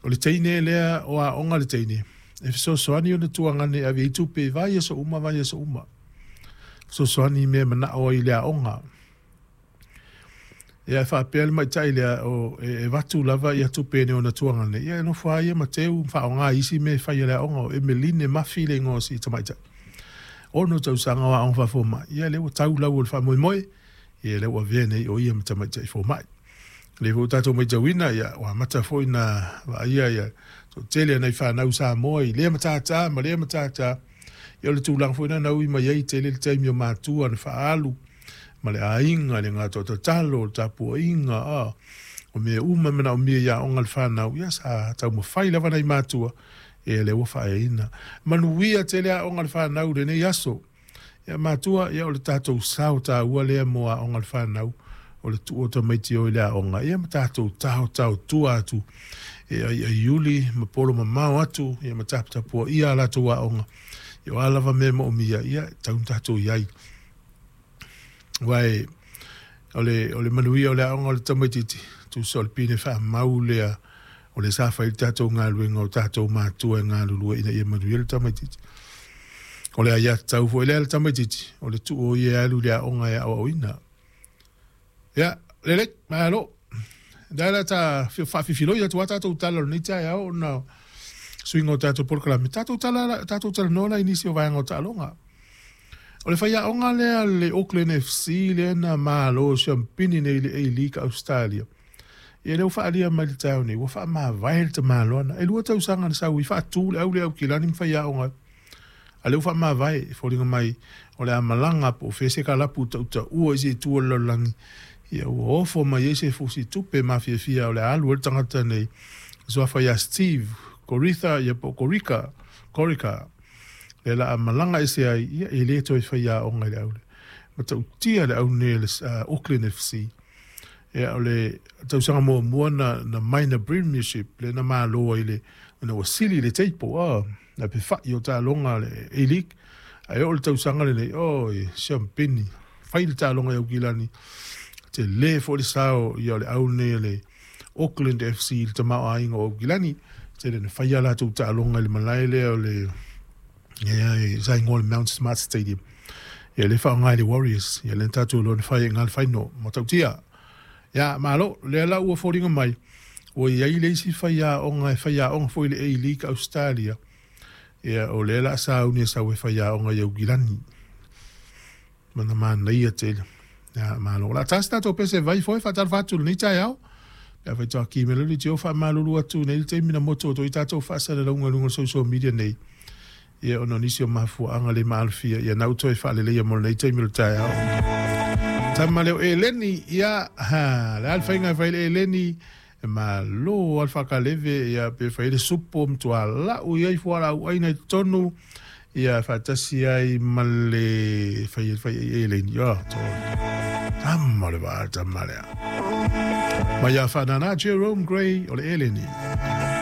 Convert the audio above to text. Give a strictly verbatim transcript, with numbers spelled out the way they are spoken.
O le teine lea o aoga le teine, e fesoasoani ona tuagane e ave ai tupe i vaiaso uma vaiaso uma. Fesoasoani i mea e manao ai i le aoga. Ia e faapea le maita'i lea o e avatu lava ia tupe nei ona tuagane, ia e nofo lava ia ma teu ma faaaoga i isi mea e fai a le aoga. O Emeline Mafi le igoa o si tamaitai. Ono tausaga o aoga faafomai, ia lea ua tau lau o le faamoemoe, ia lea ua avea nei o ia ma tamaitai fomai. O lea foi ua tatou matauina, ia ua amata foi na vaaia ia toatele nai fanau Samoa i lea matata ma lea matata. Ia o le tulaga foi lena na ui mai ai tele le taimi o matua na faaalu ma le aiga, le gata tatalo, le tapuaiga, a o mea uma e manaomia i aoga a le fanau, ia sa taumafai lava nai matua, ia lea ua faaeaina. Manuia tele aoga a le fanau i lenei aso. Ia matua, ia o le tatou sao taua lea mo aoga a le fanau, o le tuu o tamaiti o i le aoga, ia ma tatou taotaotua atu e aiaiuli ma polo mamao atu, ia ma taputapuaia a latou aoga. Ia o a lava mea e moomia, ia e tau tatou i ai. Aua o le, o le manuia o le aoga o le tamaitiiti, tusa o le pine faamau lea o le sa fai le tatou galuega o tatou matua e galulue ina ia manuia le tamaitiiti. O le aiatatau foi lea le tamaitiiti, o le tuu o ia e alu i le aoga e aoaoina. Ia, lelei, malo. Lea la ta faafifiloi atu a tatou tala o lenei taeao ona suiga o tatou polokalame. Tatou tala, tatou talanoa la i nisi o vaega o taaloga. O le faiaoga lea le Auckland F C lea na malo siampini nei i le A-League Australia. Ia lea ua faaalia mai le taeao nei, ua faamavae le tamaloa. E lua tausaga na sau i faatu le au le Aukilani ma faiaoga. A lea ua faamavae, e foliga mai o le a malaga po o fea se kalapu tautaua i se itu o le lalolagi. Ia ua ofo mai ai se fusi tupe mafiafia o le a alu ai le tagata nei. Suafa ia Steve Coritha, ia po o Corica, Corica. Le la a malaga ese ai, ia e le toe faiaoga i le aule. Ma tautia le au nei le uh, Auckland F C. Ia o le tausaga muamua na, na minor premiership le na malo ai le na ua sili le teipo, ah, na pewhai o taaloga le A-League. Ae o le tausaga lenei, oh, e siampini, fai le taaloga i Aukilani. Te le fo le sao ia o le au nei le Auckland F C le tamaoaiga o Aukilani. Te le na fai a latou taaloga i le malae lea o le ia e sa ingoa le Mount Smart Stadium. Ia le whaongai le Warriors, ia le tatou loa na fai e ngā le whaino, ma tautia. Ia, malo, lea la ua foliga mai, ua iai le isi faiaoga e faiaoga foi le A-League Australia. Ia, o lea la sauni e sau e faiaoga i Aukilani. Mana manaia tele. Ia, malo. La tasi tatou pese vai foi whaatalofa atu lenei taeao. Ia whai toa ki mele li tio whaamalulu atu nei le taimi na moto o toi tatou whaasalalauga i luga o social media nei. Ia ona o nisi o mafuaaga le maalofia, ia na uto e faaleleia mo lenei taimi o le taeao. Tama leo Eleni, ia, ha, le a le faiga e fai le Eleni, e malo a le whakaleve, ia pe fai le supo mtua lau ia i fuala au aina i totonu, ia whaatasi ai ma le fai fai Eleni, ia, tō. Tama le vaa, tama lea. Mai a whanana Jerome Gray o le Eleni.